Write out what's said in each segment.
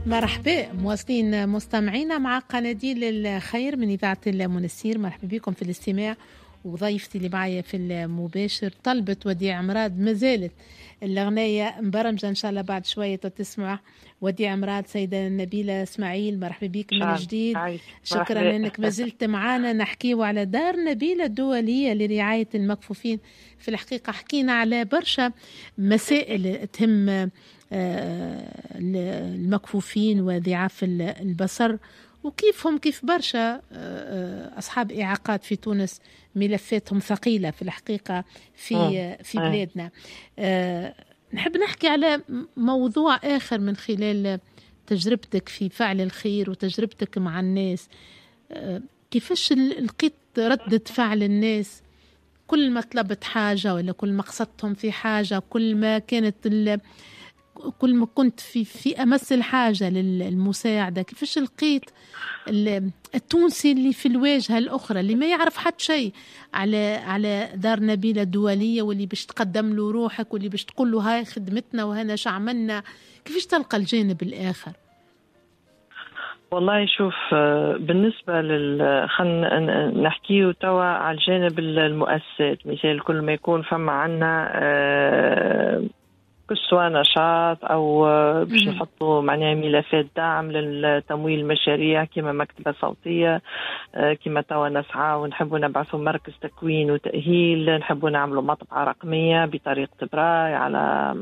مرحبا مواصلين مستمعينا مع قناديل الخير من إذاعة المنستير. مرحبا بكم في الاستماع، وضيفتي اللي معايا في المباشر طلبت وديع مراد، ما زالت الأغنية مبرمجة إن شاء الله بعد شوية تسمع وديع مراد. سيدة نبيلة إسماعيل مرحبا بك من جديد، شكرا أنك ما زلت معانا. نحكيو على دار نبيلة الدولية لرعاية المكفوفين. في الحقيقة حكينا على برشا مسائل تهم المكفوفين وضعاف البصر، وكيفهم كيف برشا أصحاب إعاقات في تونس، ملفاتهم ثقيلة في الحقيقة في بلادنا. نحب نحكي على موضوع آخر من خلال تجربتك في فعل الخير وتجربتك مع الناس. كيفاش لقيت ردة فعل الناس كل ما طلبت حاجة، ولا كل ما قصدتهم في حاجة، كل ما كانت كل ما كنت في أمس الحاجة للمساعدة؟ كيفاش لقيت التونسي اللي في الواجهة الأخرى اللي ما يعرف حتى شيء على دار نبيلة الدولية، واللي باش تقدم له روحك، واللي باش تقول له هاي خدمتنا وهنا شو عملنا؟ كيفاش تلقى الجانب الآخر؟ والله شوف، بالنسبة خلينا نحكيه توا على الجانب المؤسسات. مثال كل ما يكون فما عنا كسوة نشاط أو باش نحطوا معناها ملفات دعم للتمويل المشاريع كما مكتبة صوتية، كما توا نسعى ونحبوا نبعثوا مركز تكوين وتأهيل، نحبوا نعملوا مطبعة رقمية بطريقة براي على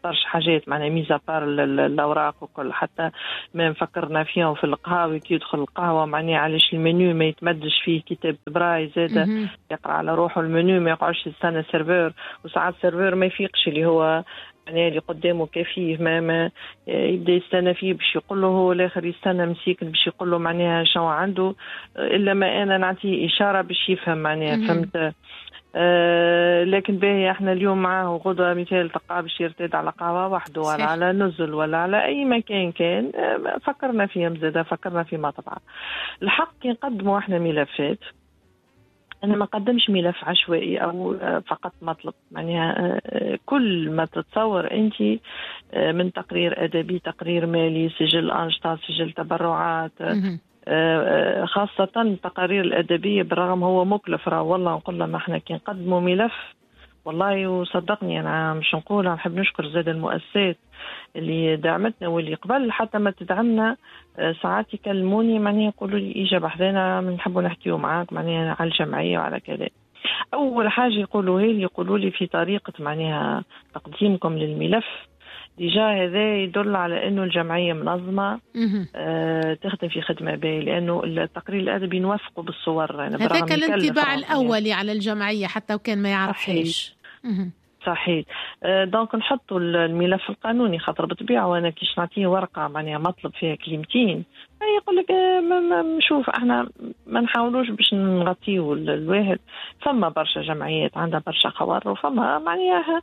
برشا حاجات، معناها mise à part الاوراق وكل، حتى ما فكرنا فيهم في القهاوي كي يدخل القهوة معناها علاش المنيو ما يتمدش فيه كتاب براي زاده يقرا على روحه المنيو، ما يقعدش يستنى serveur، وساعات serveur ما يفيقش اللي هو معناها اللي قدامه كفيه، ما يبدا يستنى فيه باش يقول له، هو الاخر يستنى مسيكن باش يقول له معناها شنو عنده، الا ما انا نعطيه اشارة باش يفهم معناها، فهمت؟ لكن باهي احنا اليوم معاه، وغدوة مثال تلقاه باش يرتاد على قهوة وحده ولا على نزل ولا على أي مكان كان. فكرنا فيهم زادة، فكرنا في مطبعة. الحق كي نقدموا احنا ملفات، أنا ما قدمش ملف عشوائي أو فقط مطلب، معناها كل ما تتصور أنت من تقرير أدبي، تقرير مالي، سجل أنشطة، سجل تبرعات، خاصة التقارير الأدبية، بالرغم هو مكلف راه، والله نقول لهم احنا كي نقدموا ملف والله وصدقني أنا مش نقول، نحب نشكر زاد المؤسسات اللي دعمتنا واللي قبل حتى ما تدعمنا ساعات يكلموني معناها يقولوا لي إجا بحذانا نحبوا نحكيو معاك معناها على الجمعية وعلى كذا. أول حاجة يقولوها لي، يقولوا لي في طريقة معناها تقديمكم للملف déjà هذا يدل على انه الجمعية منظمة، تخدم في خدمة باهيه، لانه التقرير الادبي نوثقه بالصور. يعني هذاك الانطباع الاولي على الجمعية حتى وكان ما يعرفهاش. صحيح. donc نحطوا الملف القانوني، خاطر بالطبيعة وانا كيش نعطيه ورقة معناها مطلب فيها كلمتين يقول لك شوف احنا ما نحاولوش باش نغطيو الواحد. فما برشا جمعيات عندها برشا خوار، وفما معناها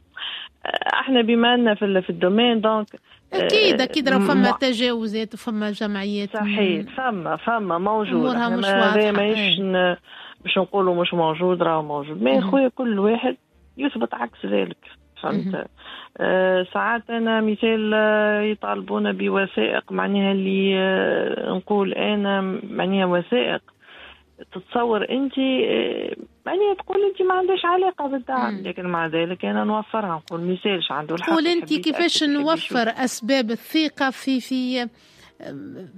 احنا بما ان في ال domaine donc اكيد اكيد راه فما تجاوزات وفما جمعيات. صحيح، فما موجود، مش واضحة، ماهيش باش نقولوا مش موجود، راه موجود، mais خويا كل واحد يثبت عكس ذلك، فهمت؟ ساعات انا مثال يطالبون بوثائق معناها اللي نقول انا معناها وثائق تتصور انت معناها تقول انت ما عندهاش علاقة بالدعم، لكن مع ذلك انا نوفرها، نقول مثالش عنده الحق. قول انت كيفاش نوفر اسباب الثقة في في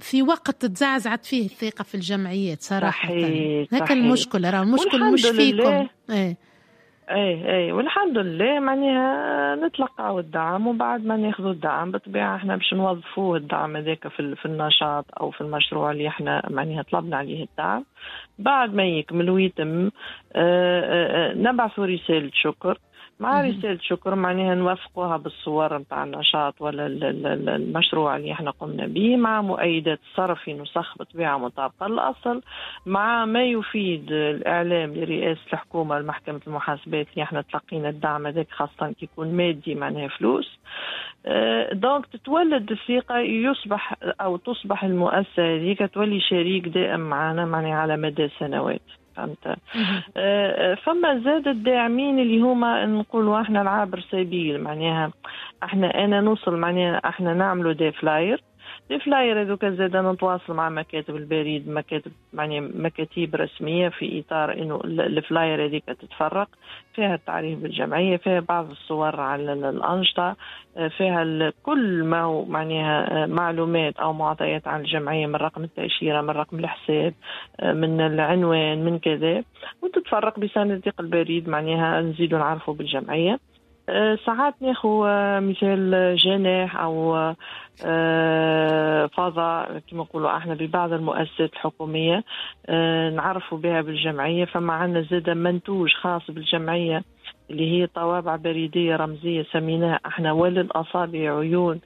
في وقت تزعزعت فيه الثقة في الجمعيات صراحة. هكا المشكلة، راه المشكل مش فيكم. اي والحمد لله معناها نتلقاو الدعم، وبعد ما ناخذوا الدعم بالطبيعة احنا باش نوظفوه الدعم هذاك في النشاط او في المشروع اللي احنا معناها طلبنا عليه الدعم. بعد ما يكمل ويتم نبعثوا رسالة شكر، مع رسالة شكر معناها نوثقوها بالصور نتاع النشاط ولا المشروع اللي احنا قمنا به، مع مؤيدات الصرف في نسخ بطبيعة مطابقة للأصل، مع ما يفيد الإعلام لرئاسة الحكومة لمحكمة المحاسبات اللي احنا تلقينا الدعم هذاك، خاصة كي يكون مادي معناها فلوس. donc تتولد الثقة، يصبح أو تصبح المؤسسة هذيك تولي شريك دائم معنا معناها على مدى سنوات. فهمت؟ فما زاد الداعمين اللي هما نقولوا احنا العابر سبيل، معناها احنا انا نوصل معناها احنا نعملوا des flyers، les flyers هذوك زاد نتواصل مع مكاتب البريد، مكاتب يعني مكاتب رسمية، في اطار انه ال flyer هذيك تتفرق، فيها التعريف بالجمعيه، فيها بعض الصور على الانشطه، فيها كل ما هو معناها معلومات او معطيات عن الجمعيه، من رقم التاشيره، من رقم الحساب، من العنوان، من كذا، وتتفرق بصناديق البريد، معناها نزيدوا نعرفوا بالجمعيه. ساعات ناخذ مثال جناح او فضاء كما نقولوا احنا ببعض المؤسسات الحكوميه، نعرفوا بها بالجمعيه. فما عندنا زاد منتوج خاص بالجمعيه اللي هي طوابع بريديه رمزية سميناها احنا وللاصابع عيون،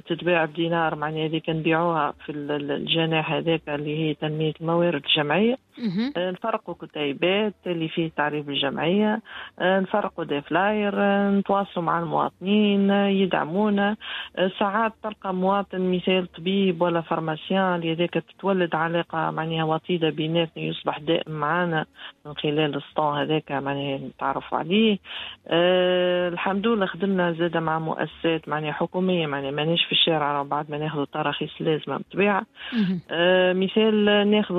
تتباع بدينار، معناها هذيك نبيعوها في الجناح هذاك اللي هي تنمية الموارد الجمعية. نفرقوا كتيبات اللي فيه تعريف الجمعية، نفرقوا des flyers، نتواصلوا مع المواطنين يدعمونا. ساعات تلقى مواطن مثال طبيب ولا pharmacien اللي هذاك تتولد علاقة معناها وطيدة بيناتنا، يصبح دائم معنا من خلال ال stand هذاك، معناها نتعرفوا عليه. الحمد لله خدمنا زادة مع مؤسسات معناها حكومية، معناها مانيش في الشارع بعد ما ناخذ التراخيص اللازمة بالطبيعة. مثال ناخذ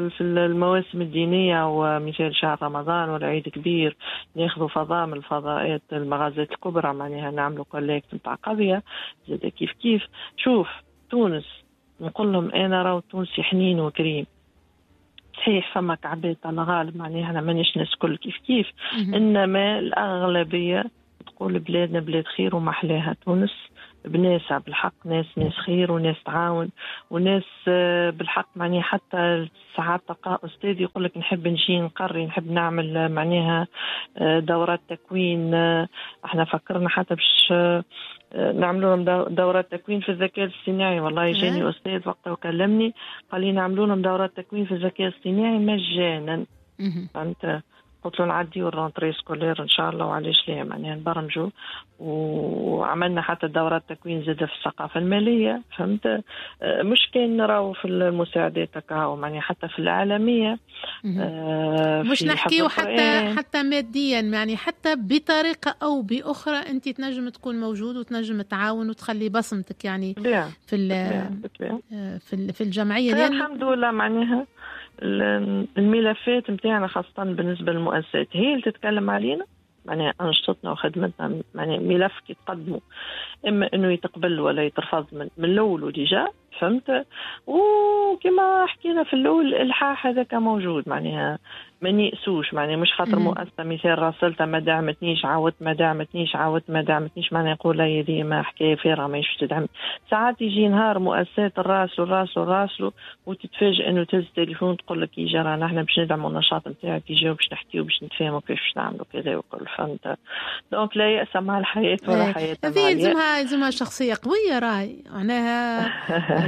في المواسم الدينية، ومثال شهر رمضان ولا عيد كبير، ناخذ فضاء من الفضاءات المغازات الكبرى، معناها نعملوا collecte نتاع قضية زاد كيف كيف. شوف تونس نقول لهم أنا راهو تونسي حنين وكريم، صحيح فما كعبات على غالب، معناها احنا مانيش ناس كل كيف كيف، إنما الأغلبية تقول بلادنا بلاد خير ومحلاها تونس بناسها بالحق، ناس خير وناس تعاون وناس بالحق. معناها حتى ساعات تلقى أستاذ يقول لك نحب نجي نقري، نحب نعمل معناها دورات تكوين. احنا فكرنا حتى باش نعملوا لهم دورات تكوين في الذكاء الاصطناعي. والله جاني أستاذ وقتها وكلمني قال لي نعملوا لهم دورات تكوين في الذكاء الاصطناعي مجانا. فهمت؟ قلت له نعديو ال rentrée scolaire ان شاء الله، وعلاش لا، معناها نبرمجوا. وعملنا حتى دورات تكوين زاده في الثقافة الماليه، فهمت؟ مش كان راهو في المساعدات هكا، معناها حتى في العالميه. مش نحكيو حتى ماديا، يعني حتى بطريقة او باخرى انت تنجم تكون موجود وتنجم تعاون وتخلي بصمتك يعني في الجمعية. لأن الحمد لله معناها الملفات نتاعنا خاصة بالنسبة للمؤسسات هي اللي تتكلم علينا، معناها أنشطتنا وخدمتنا، معناها ملف كي تقدموا إما إنه يتقبل ولا يترفض من الأول و déjà، فهمت؟ وكما حكينا في الأول الإلحاح هذاك موجود، معناها ما نيأسوش، معناها مش خاطر مؤسسة مثال راسلتها ما دعمتنيش، عاودت ما دعمتنيش، عاودت ما دعمتنيش، معناها نقول هي دي ما حكاية فارغة ماهيش تدعم. ساعات يجي نهار مؤسسات راسلوا راسلوا راسلوا وتتفاجئ انه تهز التليفون تقول لك يجي رانا احنا باش ندعموا النشاط نتاعك، يجيو باش نحكيو باش نتفاهموا كيفاش باش نعملوا كذا وكل، فهمت؟ donc لا يأس مع الحياة ولا حياة مع اليأس. يلزمها شخصية قوية راهي، معناها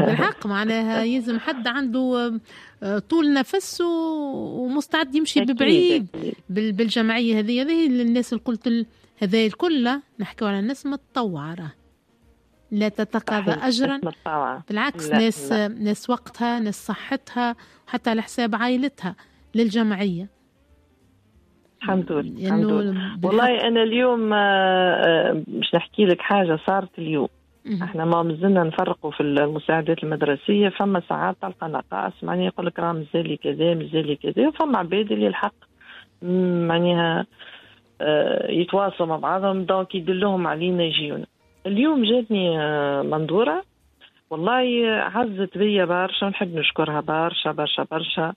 بالحق، معناها يلزم حد عنده طول نفس ومستعد يمشي ببعيد بالجمعية هذه. هذه الناس اللي قلت هذا الكل نحكيو على الناس متطوعة، راه لا تتقاضى أجرا، بالعكس. لا ناس لا. ناس وقتها، ناس صحتها، حتى على حساب عائلتها للجمعية. الحمد لله، الحمد لله. والله أنا اليوم مش نحكي لك حاجة صارت اليوم. احنا ما مازلنا نفرقوا في المساعدات المدرسية، فما ساعات تلقى نقائص، معناها يقول لك راه مازال كذا مازال كذا، وفما عباد اللي الحق معناها يتواصلوا مع بعضهم، donc يدلوهم علينا يجيونا. اليوم جاتني منظوره والله عزت بيا برشا، ونحب نشكرها برشا برشا برشا.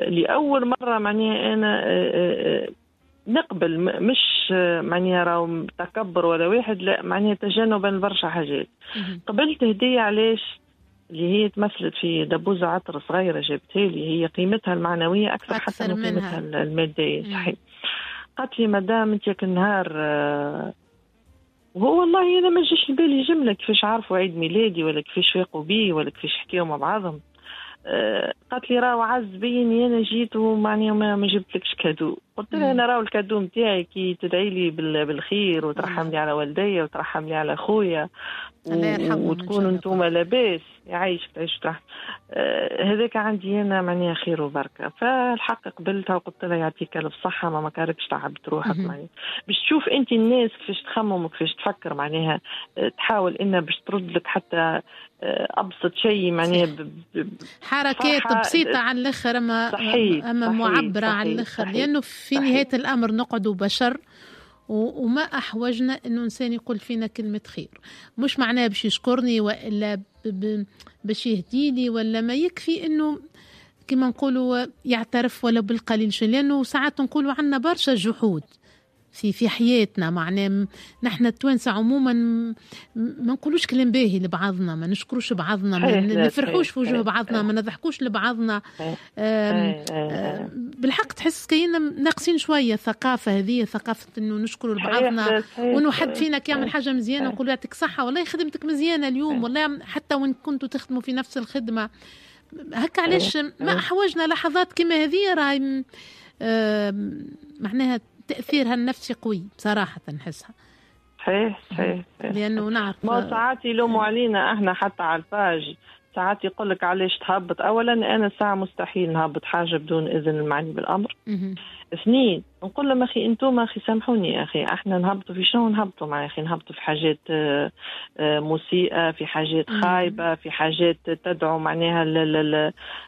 لاول مرة معناها انا نقبل، مش معناها راهو تكبر ولا واحد، لا معناها تجنبا لبرشا حاجات. قبلت هدية، علاش؟ اللي هي تمثلت في دبوزة عطر صغيرة جابتها لي، هي قيمتها المعنوية أكثر حتى من قيمتها المادية. صحيح. قالت لي مدام أنت النهار، وهو والله أنا ما جاش لبالي جملة كيفاش عرفوا عيد ميلادي ولا كيفاش فاقوا بي ولا كيفاش حكيوا مع بعضهم. قالت لي راهو عز بيني انا جيت ومعني ما جبتلكش cadeau. قلت لها انا راهو ال cadeau نتاعي كي تدعي لي بالخير وترحم لي على والدي وترحم لي على خويا وتكونوا انتم لاباس، يعيشك تعيش ترحم. هذاك عندي انا معناها خير وبركة. فالحق قبلتها وقلت لها يعطيك الف صحة، ما كاركش تعبت روحك معناها باش تشوف انت الناس كيفاش تخمم وكيفاش تفكر، معناها تحاول انها باش ترد لك حتى ابسط شيء معناها حركات بسيطة على الاخر، اما معبرة على الاخر، لانه في نهاية الامر نقعدوا بشر، وما احوجنا انه انسان يقول فينا كلمة خير، مش معناه باش يشكرني والا باش يهديني، ولا ما يكفي انه كما نقولوا يعترف ولا بالقليل شيء، لانه ساعات نقولوا عنا برشا جحود في حياتنا، معناه نحن التوانسة عموما ما نقولوش كلام باهي لبعضنا، ما نشكروش بعضنا، ما نفرحوش في وجوه بعضنا، ما نضحكوش لبعضنا. بالحق تحس كأننا ناقصين شوية الثقافة هذه، ثقافة انه نشكروا لبعضنا، وانه حد فينا كيعمل حاجة مزيانة نقول يعطيك صحة، والله خدمتك مزيانة اليوم، والله حتى وان كنتوا تخدموا في نفس الخدمة هكا. علاش ما احوجنا لحظات كما هذه، راهي معناها تأثيرها النفسي قوي بصراحة نحسها. صحيح صحيح، لأنه نعرف ما ساعات يلوموا علينا احنا حتى على ال page، ساعات يقول لك علاش تهبط. أولا أنا ساعة مستحيل نهبط حاجة بدون إذن المعني بالأمر. اثنين نقول لهم أخي أنتم أخي سامحوني أخي، احنا نهبطوا في شنو نهبطوا مع أخي؟ نهبطوا في حاجات مسيئة، في حاجات خايبة، في حاجات تدعو معناها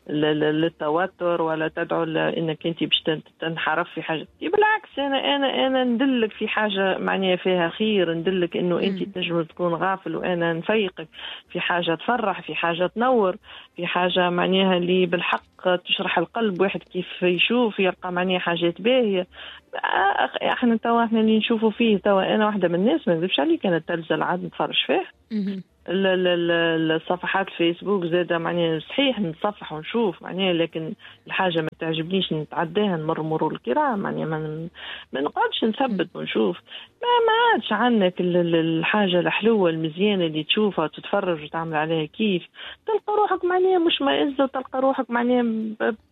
للتوتر، ولا تدعو انك انت باش تنحرف في حاجة. بالعكس انا انا انا ندلك في حاجة معناها فيها خير، ندلك انه انت تنجم تكون غافل وانا نفيقك في حاجة تفرح، في حاجة تنور، في حاجة معناها اللي بالحق تشرح القلب، واحد كيف يشوف يلقى معناها حاجات باهية. احنا توا احنا اللي نشوفوا فيه توا، انا واحدة من الناس ما نكذبش عليك، انا التلفزة العاد نتفرج فيه، الصفحات الفيسبوك زاده معناها صحيح نتصفح ونشوف معناها، لكن الحاجة ما تعجبنيش نتعداها، نمر مرور الكرام معناها، ما نقعدش نثبت ونشوف. ما عادش عندك الحاجة الحلوة المزيانه اللي تشوفها وتتفرج وتعمل عليها كيف، تلقى روحك معناها مش مائزه، وتلقى روحك معناها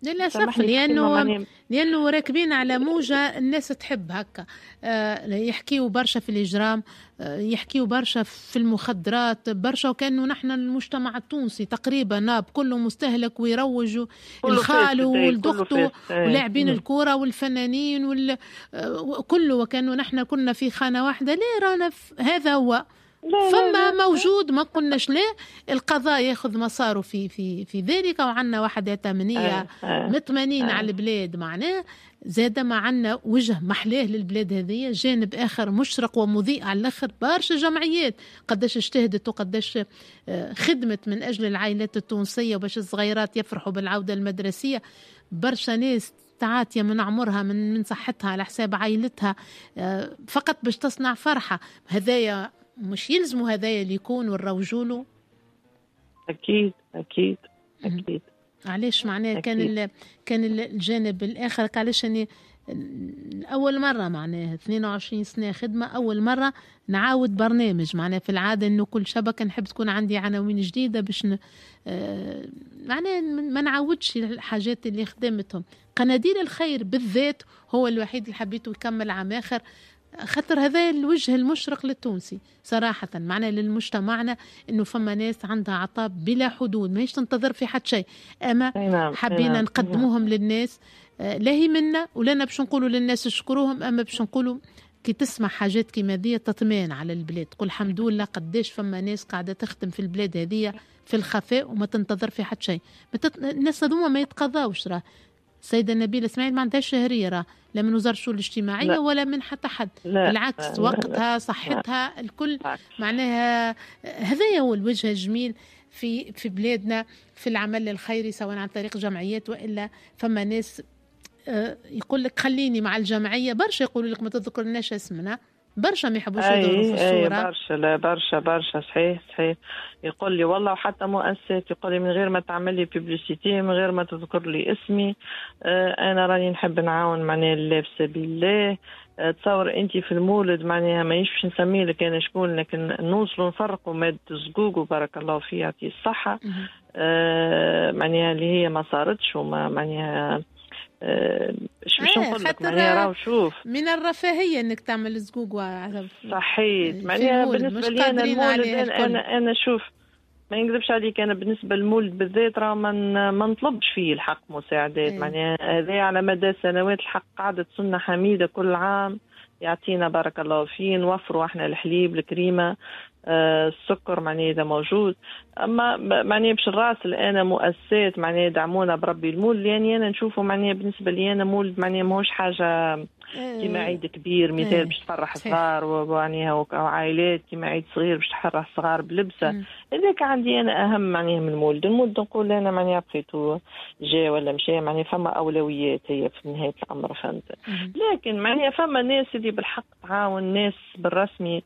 للاسف، لانه راكبين على موجه الناس تحب هكا. يحكيوا برشا في الاجرام، يحكيوا برشا في المخدرات برشا، وكانه نحن المجتمع التونسي تقريبا ناب كله مستهلك، ويروجوا الخال والدخت ولاعبين الكورة والفنانين كله، وكانه نحن كنا في خانه واحدة. ليه رانا هذا هو فما موجود، ما قلناش ليه القضاء ياخذ مساره في في في ذلك، وعندنا وحدات امنية مطمئنين على البلاد، معناه زاد ما عندنا وجه محلاه للبلاد هذه، جانب اخر مشرق ومضيء على الاخر. برشا جمعيات قداش اجتهدت وقداش خدمت من اجل العائلات التونسية وباش الصغيرات يفرحوا بالعودة المدرسية. برشا ناس تعاتية من عمرها من صحتها على حساب عائلتها فقط باش تصنع فرحه. هذايا مش يلزموا هذايا اللي يكون ونروجوا له. اكيد اكيد اكيد. علاش معناه كان الجانب الاخر؟ علاش اني اول مرة معناه 22 سنة خدمة، اول مرة نعاود برنامج. معناه في العادة انه كل شبكة نحب تكون عندي عناوين جديدة باش معناه ما نعاودش الحاجات اللي خدمتهم. قناديل الخير بالذات هو الوحيد اللي حبيته يكمل عام اخر، خاطر هذا الوجه المشرق للتونسي صراحة، معناه للمجتمعنا انه فما ناس عندها عطاء بلا حدود، ماهيش تنتظر في حد شيء، اما حبينا نقدموهم للناس. لا هي منا ولا باش نقولوا للناس اشكروهم، اما باش نقولوا كي تسمع حاجات كيما ذي تطمئن على البلاد، تقول الحمد لله قداش فما ناس قاعدة تخدم في البلاد هذه في الخفاء وما تنتظر في حد شيء. الناس هذوما ما يتقضاوش، راه السيدة نبيلة اسماعيل ما عندهاش شهرية، راه لا من وزارة الشؤون الاجتماعية لا. ولا من حتى حد، لا. بالعكس لا. وقتها صحتها الكل لا. معناها هذا هو الوجه الجميل في بلادنا في العمل الخيري، سواء عن طريق جمعيات والا فما ناس يقول لك خليني مع الجمعية. برشا يقولوا لك ما تذكرناش اسمنا، برشا ما يحبوش يظهروا في الصورة. برشا لا برشا برشا صحيح صحيح. يقول لي والله، وحتى مؤسسات يقول لي من غير ما تعمل لي publicité، من غير ما تذكر لي اسمي، انا راني نحب نعاون معناها الله في سبيل الله. تصور انت في المولد معناها مانيش باش نسمي لك انا شكون، لكن نوصلوا نفرقوا مادة الزقوق وبارك الله فيه يعطيه الصحة. معناها اللي هي ما صارتش وما معناها باش نقول لك معناها راهو شوف من الرفاهية انك تعمل زقوق. صحيت، معناها بالنسبة لي انا المولد، انا شوف ما نكذبش عليك، انا بالنسبة للمولد بالذات راه ما نطلبش فيه الحق مساعدات. معناها هذا على مدى سنوات الحق قعدت سنة حميده، كل عام يعطينا بارك الله فيه، نوفروا احنا الحليب، الكريمه، السكر معناها اذا موجود. اما معناها باش نراسل انا مؤسسات معناها يدعمونا بربي المولد، لاني انا نشوفه معناها بالنسبة لي انا مولد معناها ماهوش حاجة كيما عيد كبير مثال باش تفرح صغار ومعناها وعائلات، كيما عيد صغير باش تفرح صغار بلبسه. هذاك عندي انا اهم معناها من المولد. المولد نقول انا معناها بقيتو جا ولا مشى، معناها فما اولويات هي في نهاية الامر، فهمت؟ لكن معناها فما ناس اللي بالحق تعاون ناس بالرسمي،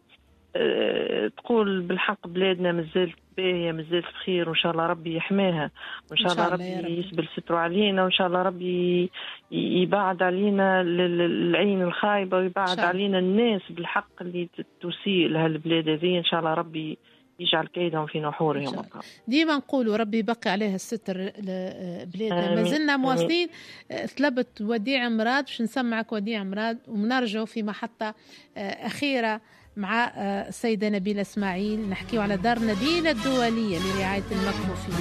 تقول بالحق بلادنا مازالت باهيه، مازالت بخير، وان شاء الله ربي يحماها، وان شاء الله ربي يسبل ستره علينا، وان شاء الله ربي يبعد علينا العين الخايبة ويبعد علينا الناس بالحق اللي تسيء لهالبلاد هذه. ان شاء الله ربي يجعل كيدهم في نحورهم. ديما نقولوا ربي يبقي عليها الستر بلادنا. ما زلنا مواصلين. طلبت وديع مراد باش نسمعك وديع مراد، ونرجعوا في محطة أخيرة مع السيدة نبيلة اسماعيل، نحكيو على دار نبيلة الدولية لرعاية المكفوفين.